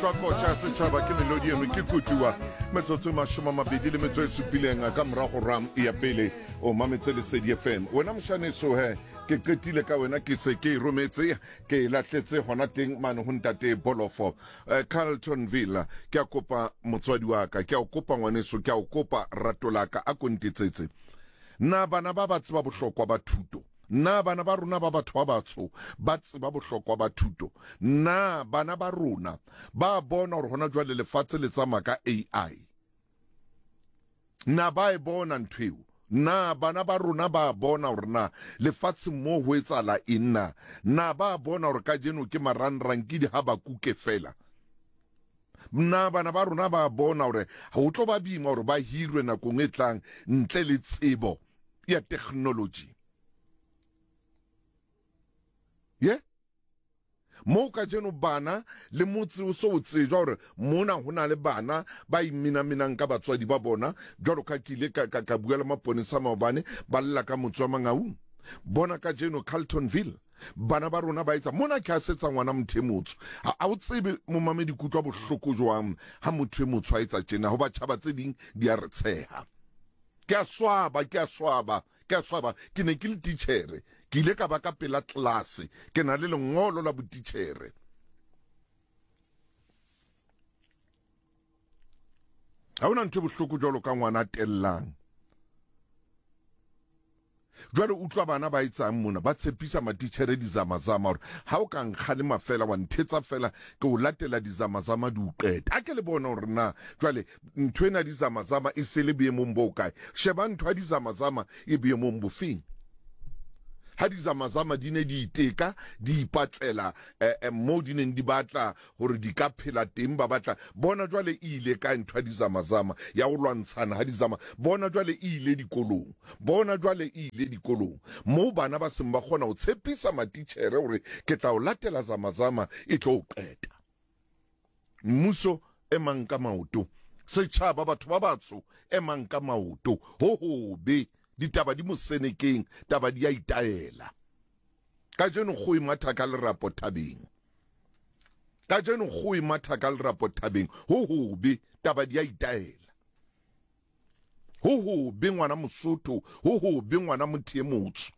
Utlwa koša ya setšhaba ke melodi eno ke kutuwa metsotso e 27 ka morago ram ya pele o mametse Lesedi FM. Wena mošaneso he ke qetile ka wena ke se ke e rometse ke e latletse hona teng mane ho ntate Bolofo eh, Carltonville. Ke a kopa motswadi wa ka, ke a o kopa ngwaneso, ke a o kopa rato la ka, a ko ntetsetse. Na bana ba ba tseba bohlokwa ba thuto? Na bana ba rona ba batho ba batsho ba tseba bohlokwa ba thuto? Na bana ba rona ba bona hore hona jwale lefatshe le tsamaya ka AI? Na ba e bona ntho eo? Na bana ba rona ba bona hore na lefatsheng moo ho etsahala eng na? Na ba bona hore kajeno ke marangrang ke dihabakuke feela? Na bana ba rona ba bona hore ho tlo ba boima hore ba hirwe nakong e tlang ntle le tsebo ya technology? Ye? Moo kajeno bana le motse o se o tsejwa hore mona ho na le bana ba imenamenang ka batswadi ba bona, jwalo ka ke ile ka, ka, ka bua le maponesa maobane, ba lla ka motse wa Mangaung. Bona kajeno Carltonville, bana ba rona ba etsa mona ke a setsa ngwana motho e motsho. Ha, ha o tsebe momamedi ke utlwa bohloko jwang ha motho e motsho a etsa tjena, hoba tjhaba tse ding di a re tsheha. Ke a swaba, ke a swaba. Ke a swaba, ke ne ke le titjhere. Ke ile ka ba ka pela tlelase, ke na le lengolo la botitjhere. Ha hona ntho e bohloko jwalo ka ngwana a tellang. Jwale utlwa bana ba etsang mona, ba tshepisa matitjhere dizamazama hore ha o ka nkgalema fela wa nthetsa fela ke o latela dizamazama di o qeta. A ke le bone hore na jwale ntho ena dizamazama e se le boemong bo kae. Sheba ntho ya dizamazama e boemong bofeng. Ha dizamazama di ne di iteka di ipatlela eh, eh, moo di neng di batla hore di ka phela teng, ba batla bona jwale e ile kae ntho ya dizamazama ya ho lwantshana ha dizama. Bona jwale e ile dikolong, bona jwale e ile dikolong moo bana ba seng ba kgona ho tshepisa matitjhere hore ke tla o latela zamazama e tlo o qeta. Mmuso emang ka maoto, setjhaba batho ba batsho emang ka maoto, ho hobe ditaba di mosenekeng, taba di a itaela. Kajeno kgoho e matha ka lerapo thabeng. Kajeno kgoho e matha ka lerapo thabeng. Ho hobe, taba di a itaela. Ho hobe ngwana Mosotho, ho hobe ngwana motho e motsho.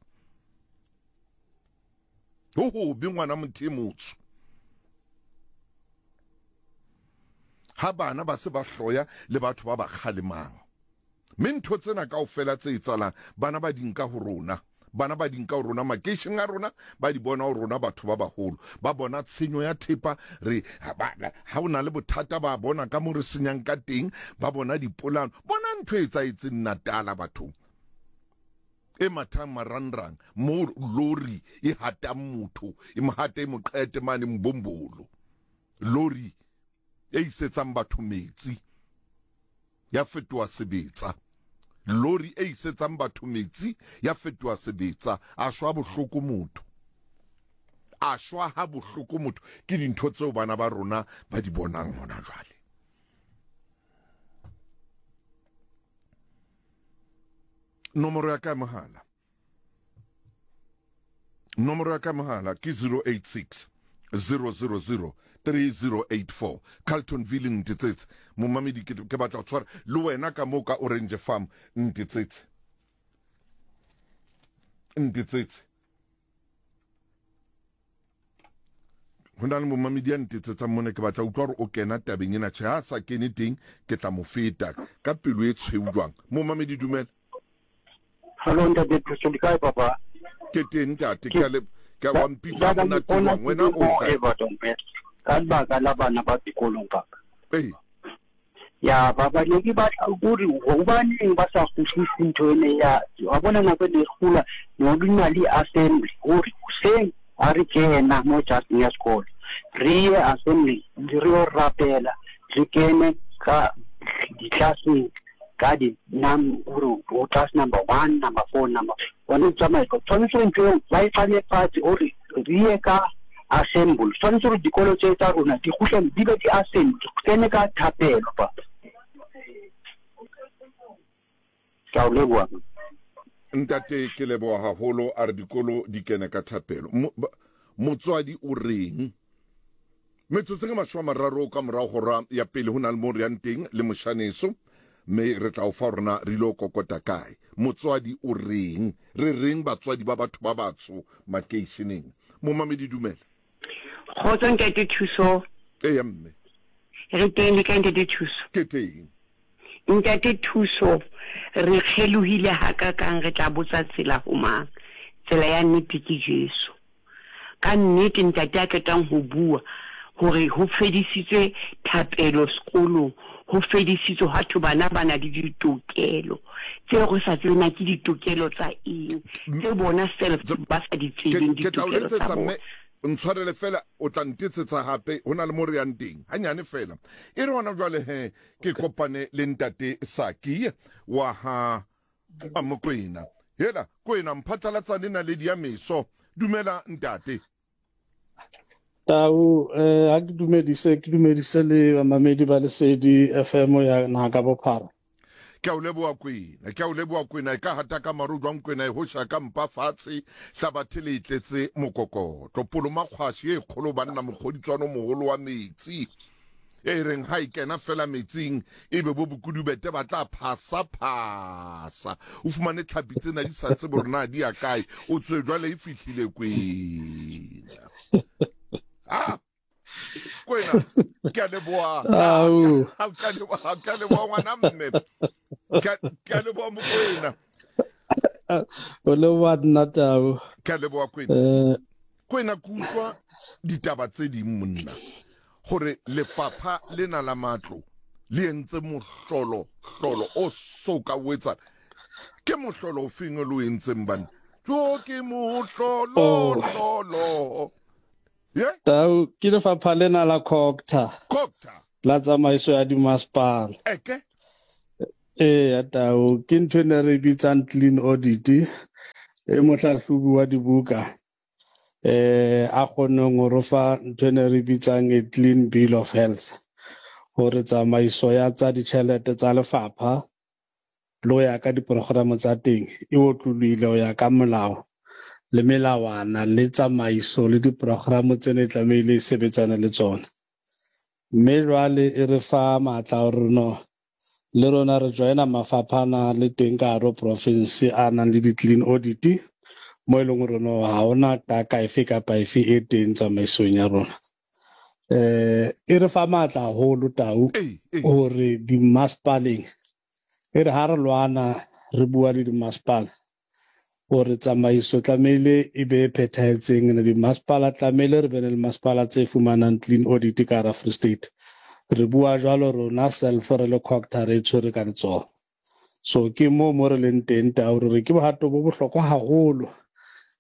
Ho hobe ngwana motho e motsho. Ha bana ba se ba hloya le batho ba ba kgalemang. Mme ntho tsena kaofela tse etsahalang, bana ba di nka ho rona. Bana ba di nka ho rona makeisheneng a rona, ba di bona ho rona batho ba baholo. Ba bona tshenyo ya thepa, re, ba, ha o na le bothata ba bona ka mo re senyang ka teng, ba bona dipolano. Bona ntho e etsahetseng Natala bathong. E mathang marangrang, moo lori e hatang motho, e mo hate e mo qete mane Mbombolo. Lori e isetsang batho metsi. ya fetoha sebetsa. Lori e isetsang batho metsi ya fetoha sebetsa. A shwa bohloko motho. A shwa ha bohloko motho. Ke dintho tseo bana ba rona ba di bonang hona jwale. Nomoro ya ka ya mohala. Nomoro ya ka mohala ke 086 000 3084. Carltonville ntetsetse. Momamedi ke ke batla ho tshwara le wena ka moo ka Orange Farm ntetsetse. Ntetsetse. Ho na le momamedi ya ntetsetsang mona ke batla utlwa hore o kena tabeng ena. Tjhe, ha a sa kene teng ke tla mo feta ka pelo e tshweu jwang. Momamedi dumela. Hello ntate Thuso le kae papa? Ke teng ntate, ke a le ke wa mpitsa monate jwang wena o kae? Everton ka lebaka la bana ba dikolong papa. Ee. Ya baba ne ke batla hore hobaneng ba sa kgutlise ntho ene ya wa bona nako e ne e kgula ne ho na le assembly hore hoseng ha re kena mo jareteng ya sekolo re ye assembly re yo rapela re kene ka ditlelaseng ka di nam gore o class number 1 number 4 number one o tsamaye tshwanetse gore ntho eo ba e qale fatshe gore re ye ka assemble tshwanetse gore dikolo tse tsa rona di kgutle di be di assemble kene ka thapelo papa ke a o leboha. Ntate ke leboha haholo a re dikolo di kene ka thapelo. Motswadi o reng? Metsotso ke 30 ka morago hora ya pele ho na le mo re yang teng le moshaneso, mme re tla o fa hore na re ile kokota kae. Motswadi o reng? Re reng batswadi ba batho ba batsho makeisheneng? Momamedi dumela. Kgotso ntate Thuso. Eya mme. Re teng le kae ntate Thuso? Ke teng. Ntate Thuso, re kgelohile hakakang re tla botsa tsela ho mang? Tsela ya nnete ke Jesu. Ka nnete ntate a qetang ho bua hore ho fedisitswe thapelo sekolong, ho fedisitswe hwa thwe bana ba na le ditokelo tseo re sa tsebe na ke ditokelo tsa eng, tse bona self ba sa di tsebeng ditokelo tsa bona. Ntshwarele fela o tla ntetsetsa hape ho na le mo re yang teng hanyane fela. E re hona jwale he ke kopane le ntate Saki wa ha Mokwena. Hela Kwena mphatlalatsane naledi ya meso. Dumela ntate. Tau eh ha ke dumedise ke dumedise le bamamedi ba Lesedi FM ya naha ka bophara. Ke a o leboha Kwena, ke a o leboha Kwena, e ka hata ka maru jwang Kwena e hosha ka mpa fatshe, hlabathe le e tletse mokokotlo, polomakgwashi e kgolo banna mokgoditswano moholo wa metsi, e reng ha e kena fela metsing ebe bo bokudubete ba tla phasa phasa, o fumane tlhapi tsena di sa tsebe hore na di ya kae, o tswe jwale e fihlile Kwena. Ah! Kwena, ke a leboha. Ke a leboha, ke a leboha ngwana mme. Ke a leboha Mokwena. O leboha nna Tau. Ke a leboha Kwena. Kwena ke utlwa ditaba tse ding monna gore lefapha lena la matlo le entse mohlolo hlolo o so ka o etsana. Ke mohlolo o feng o le o entseng banna? Jo ke mohlolo hlolo. Ye? Tau ke lefapha lena la COGTA. COGTA. La tsamaiso ya dimasepala. Eke. Ee, Tau ke ntho e ne re bitsang clean audit e mohlahlobi wa dibuka eh a kgonneng ho re fa ntho e ne re bitsang a clean bill of health hore tsamaiso ya tsa ditjhelete tsa lefapha le ho ya ka diprogramo tsa teng e otlolohile ho ya ka molao le melawana le tsamaiso le diprogramo tse ne tlamehile e sebetsane le tsona. Mme jwale e re fa matla hore no le rona re joina mafapha ana le teng ka hare ho province a nang le di-clean audit mo e leng hore no ha hona qaka efe kapa efe e teng tsamaisong ya rona. Eh e re fa matla haholo Tau hore dimasepaleng e re ha re lwana re bua le dimasepala hore tsamaiso tlamehile e be e phethahetseng ene dimasepala tlamehile re be le masepala tse fumanang clean audit ka hara Free State. Re bua jwalo rona self re le COGTA re e tshwere ka letsoho. So ke moo mo re leng teng Tau re re ke bohato bo bohlokwa haholo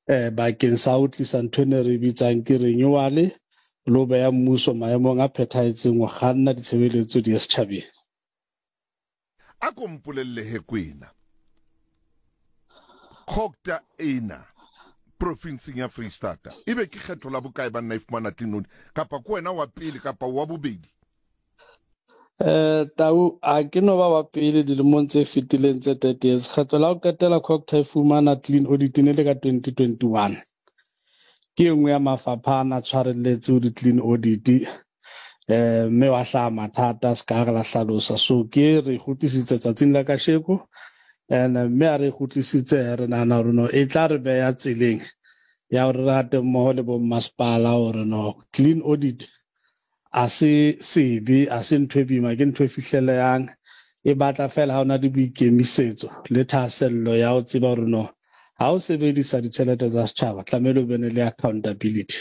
eh bakeng sa ho tlisa ntho e ne re bitsang ke renewal le ho beha mmuso maemong a phethahetseng ho kganna ditshebeletso di ye setjhabeng. A ko mpolelle he Kwena, COGTA ena profinseng ya Freistata ebe ke kgetho la bokae banna e fumana clean audit kapa ke wena wa pele kapa wa bobedi? Eh Tau a ke no ba wa pele dilemong tse fetileng tse 30 years. Kgetlo la ho qetela COGTA e fumana clean audit ne le ka 2021. Ke e nngwe ya mafapha a na tshwarelletse ho di-clean audit eh mme wa hlaha mathata se ka re la hlalosa. So ke re kgutlisitse tsatsing la kasheko and mme a re kgutlisitse re nahana hore no e tla re beya tseleng ya hore re hate mmoho le bo mmasepala hore no clean audit a se sebe, a se ntho e boima, ke ntho e fihlelehang. E batla feela ha o na le boikemisetso le thahasello ya ho tseba hore no ha o sebedisa ditjhelete tsa setjhaba tlamehile o bene le accountability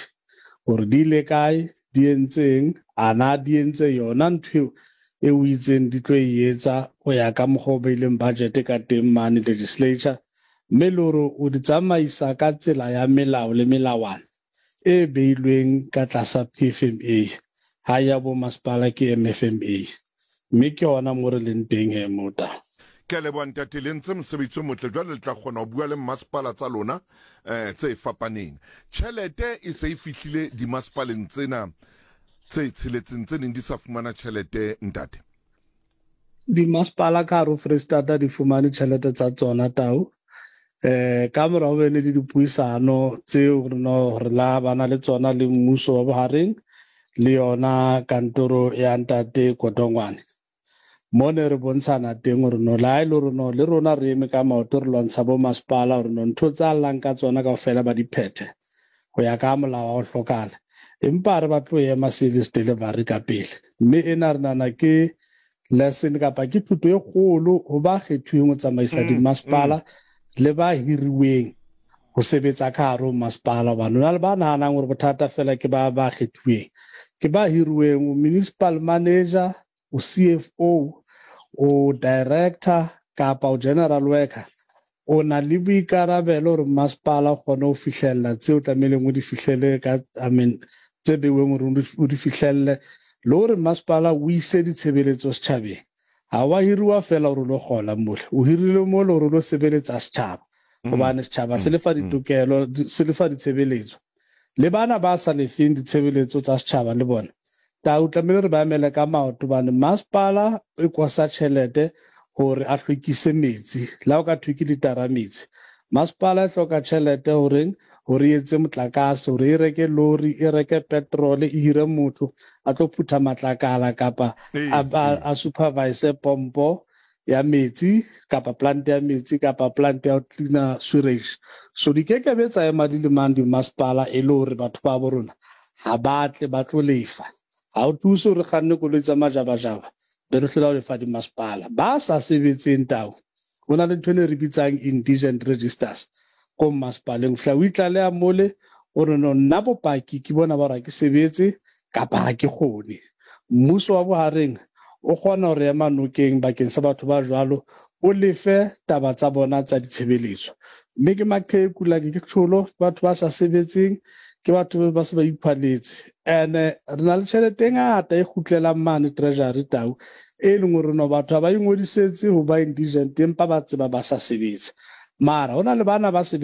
hore di ile kae, di entseng, a na di entse yona ntho eo e o itseng di tlo e etsa ho ya ka mokgwa o beileng budget ka teng mane legislature, mme le hore o di tsamaisa ka tsela ya melao le melawana e beilweng ka tlasa PFMA, ha ya bo masepala ke MFMA. Mme ke hona mo re leng teng he mota. Ke a leboha ntate, le entse mosebetsi o motle, jwale le tla kgona ho bua le mmasepala tsa lona eh, tse fapaneng. Tjhelete e se e fihlile dimasepaleng tsena tse tsheletseng tse neng di sa fumana tjhelete ntate. Dimasepala ka hare ho Freistata di fumane tjhelete tsa tsona tau eh ka mora ho bene le dipuisano tseo re no re la bana le tsona le mmuso wa bohareng le yona kantoro ya ntate Kotongwane. Mo ne re bontshana teng hore no le ha e le hore no le rona re eme ka maoto re lwantsha bo masepala hore no ntho tsa llang ka tsona kaofela ba di phethe ho ya ka molao wa ho hlokahala. Empa ha re batle ho ema service delivery ka pele. Mme ena re nahana ke lesson kapa ke thuto e kgolo ho ba kgethuweng ho tsamaisa dimasepala le ba hiriweng ho sebetsa ka hare ho masepala, hobane ho na le ba nahanang hore bothata fela ke ba ba kgethuweng. Ke ba hiriweng, o municipal manager, o CFO, o director kapa o general worker, o na le boikarabelo hore masepala o kgone ho fihlella tseo tlamehileng o di fihlele ka, I mean, tse beuweng hore o di fihlelle, le hore masepala o ise ditshebeletso setjhabeng. Ha wa hiriwa fela hore o lo kgola mole, o hirilwe mole hore o lo sebeletsa setjhaba, hobane setjhaba se lefa ditokelo, se lefa ditshebeletso. Le bana ba sa lefeng ditshebeletso tsa setjhaba le bona, tau tlamehile re ba emele ka maoto, hobane masepala e kosa tjhelete hore a hlwekise metsi, le ha o ka thwe ke litara metsi. Masepala e hloka tjhelete horeng hore e etse motlakase, hore e reke lori, e reke petrol, e hire motho a tlo phutha matlakala kapa a supervise pompo ya metsi kapa plant ya metsi kapa plant ya ho cleaner sewage. So di ke ke be tsa ema di le mang dimasepala e le hore batho ba bo rona ha ba tle ba tlo lefa. Ha o thuse hore kganne koloi tsa majabajaba be re hlola ho lefa dimasepala. Ba sa sebetseng tau, ho na le ntho e re bitsang indigent registers ko mmasepaleng. O fihla o itlaleha mole o re no nna bopaki ke bona ba hore ha ke sebetse kapa ha ke kgone. Mmuso wa bohareng o kgona hore ema nokeng bakeng sa batho ba jwalo, o lefe taba tsa bona tsa ditshebeletso. Mme ke maqheku, like ke tjholo, ke batho ba sa sebetseng, ke batho ba se ba iphwaletse. Ene re na le tjhelete e ngata e kgutlelang mane treasury tau, e leng hore no batho ha ba ingodisetse ho ba indigent empa ba tseba ba sa sebetse. Mara ho na le bana ba sebetsang.